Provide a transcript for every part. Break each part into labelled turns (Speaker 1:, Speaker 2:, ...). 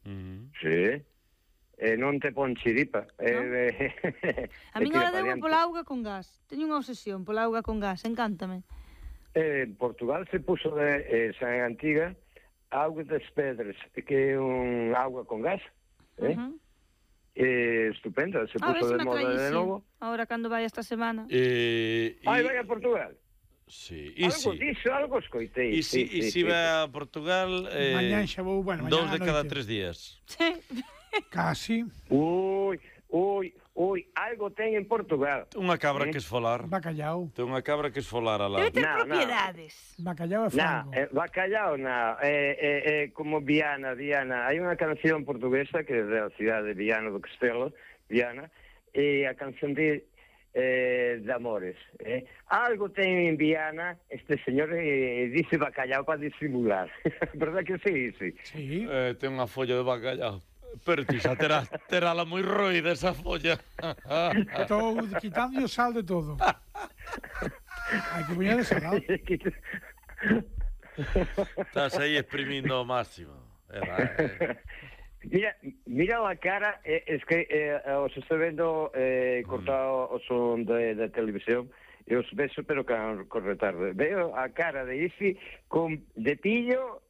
Speaker 1: Sí. Non te pon chiripa.
Speaker 2: A min agora debo pola auga con gas. Teño unha obsesión pola auga con gas, encántame.
Speaker 1: En Portugal se puso de San Antiga auga das Pedras, que é un auga con gas. Estupendo, se puso de moda de novo.
Speaker 2: Ahora cando vai esta semana.
Speaker 1: Vai a Portugal.
Speaker 3: Sí,
Speaker 1: algo escoitei.
Speaker 3: E si vai a Portugal
Speaker 4: mañán xa vou, bueno,
Speaker 3: 2 de cada 3 días.
Speaker 2: Sí.
Speaker 4: Casi.
Speaker 1: Ui, algo ten en Portugal.
Speaker 3: Unha cabra que esfolar.
Speaker 4: Bacallau.
Speaker 3: Ten unha cabra que esfolar a lado.
Speaker 2: Debe ter propiedades.
Speaker 4: Bacallau e frango.
Speaker 1: Bacallau non. Como Viana. Hai unha canción portuguesa que é da cidade de Viana do Castelo, Viana, e a canción de Amores. Algo ten en Viana este señor dice bacallau para disimular. Verdad que sí?
Speaker 4: Sí.
Speaker 3: Ten unha folla de bacallau. Pero ti xa terala moi roída esa folla.
Speaker 4: Estou quitando o sal de todo. Hai que poñer de salado.
Speaker 3: Estás aí exprimindo ao máximo.
Speaker 1: Mira a cara, es que os estou vendo cortado o son da televisión e os vexo pero con retardo. Veo a cara de Isi de pillo.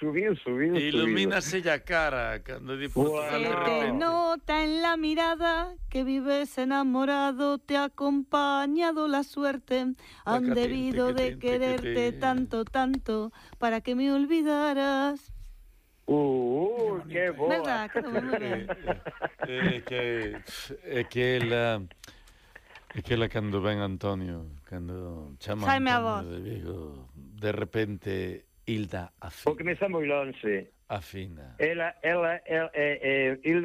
Speaker 1: Subiu.
Speaker 3: Ilumínase a cara cando di Portugal de repente.
Speaker 2: Se te nota en la mirada que vives enamorado, te ha acompañado la suerte. Han debido de quererte tanto, para que me olvidaras.
Speaker 1: Que boa.
Speaker 2: Verdad, que moi ben.
Speaker 3: É que ela cando ven Antonio, cando chama Antonio de Vigo, de repente Hilda afina.
Speaker 1: Porque me está moi lonxe.
Speaker 3: Afina.
Speaker 1: Hilda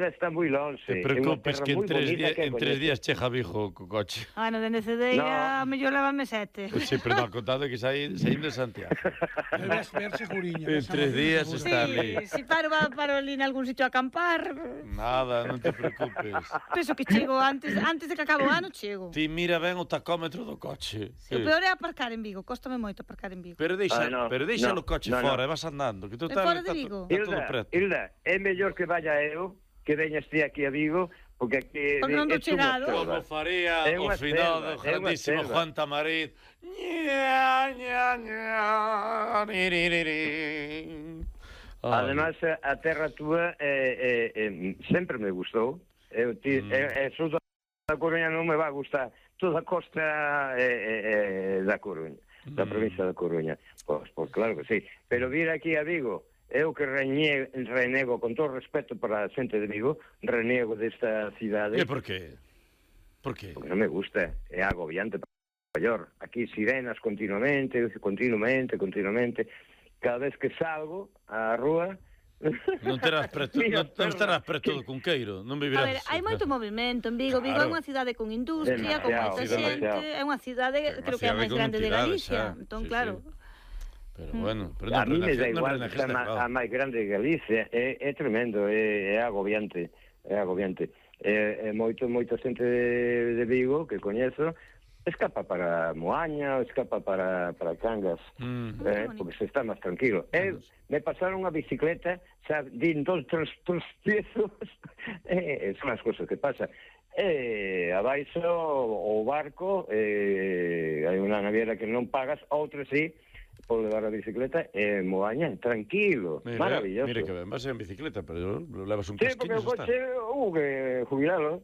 Speaker 1: está moi lonxe.
Speaker 3: Te preocupes que en 3 días chega a Vigo co coche.
Speaker 2: Bueno, dende Cedeira, a mellor levame 7.
Speaker 3: Sí, pero non, contado que saindo de Santiago.
Speaker 4: Debes verse Juriña.
Speaker 3: En 3 días está ali.
Speaker 2: Si paro ali en algún sitio a acampar.
Speaker 3: Nada, non te preocupes.
Speaker 2: Penso que chego antes de que acabe o ano, chego.
Speaker 3: Ti mira ben o tacómetro do coche.
Speaker 2: O peor é aparcar en Vigo, cóstame moito aparcar en Vigo.
Speaker 3: Pero deixa o coche fora, e vas andando.
Speaker 2: É fora de Vigo.
Speaker 1: Hilda, é mellor que vaya eu, que veñas ti aquí a Vigo, porque aquí...
Speaker 2: Porque non do chegado.
Speaker 3: Como faría o finado grandísimo Juan Tamariz.
Speaker 1: Además, a terra túa sempre me gustou. Sou da Coruña, non me va a gustar toda a costa da Coruña, da provincia da Coruña. Pois claro que sí. Pero vir aquí a Vigo, eu que renego, con todo respeto para a xente de Vigo, renego desta cidade.
Speaker 3: E por qué?
Speaker 1: Porque non me gusta, é agobiante para maior. Aquí sirenas continuamente. Cada vez que salgo á rúa...
Speaker 3: Non estarás preto do Cunqueiro, non vivirás...
Speaker 2: A ver, hai moito movimento en Vigo. Vigo é unha cidade con industria, con moita xente, é unha cidade, creo que é a máis grande de Galicia. Entón, claro...
Speaker 3: Pero bueno,
Speaker 1: a mí me da igual a máis grande de Galicia, é tremendo, é agobiante, moita xente de Vigo que coñezo escapa para Moaña, escapa para Cangas, porque se está máis tranquilo. Me pasaron unha bicicleta, xa din 2, 3 piezos, son as cousas que pasan. Abaixo o barco, hai unha naviera que non pagas, outra sí, por levar a bicicleta Moaña, tranquilo, maravilloso.
Speaker 3: Mire que ben, vas en bicicleta, pero levas un casquiño.
Speaker 1: Sí, porque o coche que jubilalo.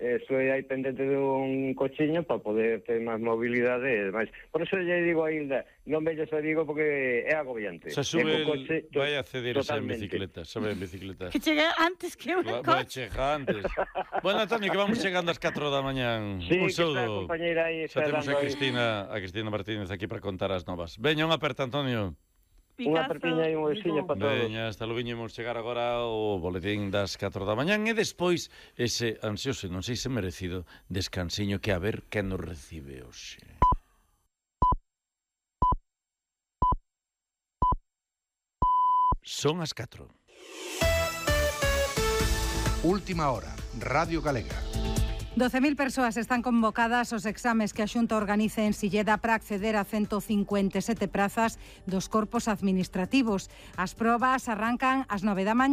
Speaker 1: Estou aí pendente dun cochiño para poder ter máis mobilidade e demais. Por eso lle digo a Hilda, non velles a Vigo porque é agobiante.
Speaker 3: Se sube, vai a ceder a en bicicleta, sabe en bicicleta.
Speaker 2: Que chegue antes que un coche.
Speaker 3: Vai chegar antes. Bueno, Antonio, que vamos chegando ás 4 da mañán.
Speaker 1: Sí,
Speaker 3: un saúdo.
Speaker 1: Xa
Speaker 3: temos a Cristina Martínez aquí para contar as novas. Veña, unha aperta, Antonio.
Speaker 1: Unha apertiña e un besiño para todos.
Speaker 3: Veña, hasta lo viñemos chegar agora o boletín das 4 da mañán e despois ese ansioso, non sei se merecido, descansiño que a ver quen nos recibe hoxe. Son as 4.
Speaker 5: Última hora, Radio Galega.
Speaker 6: 12.000 persoas están convocadas aos exames que a Xunta organiza en Silleda para acceder a 157 prazas dos corpos administrativos. As probas arrancan ás 9 da mañá.